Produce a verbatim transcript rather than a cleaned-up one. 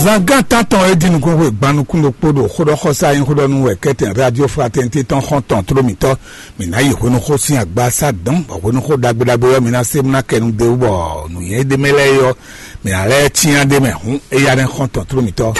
Zangán tántɔn e dín nukúnxwe gban nukún ɖokpó ɖo xóɖɔxɔsá nyí xóɖɔnú wɛ kɛ́tɛn Radio Fraternité tɔn xɔ́ntɔn tló mǐtɔn. Mǐ ná yi hwenuxó sín agbasá dɔn, bɔ hwenuxó ɖagbe ɖagbe ɔ́, mi ná se bó ná kɛ nu d'é wú, bɔ nǔnywɛ́ ɖé mɛ lɛ́ɛ é ɔ́, mǐ ná lɛ́ cyán ɖ'é mɛ. Hǔn éyá nɛ́ xɔ́ntɔn tló mǐtɔn.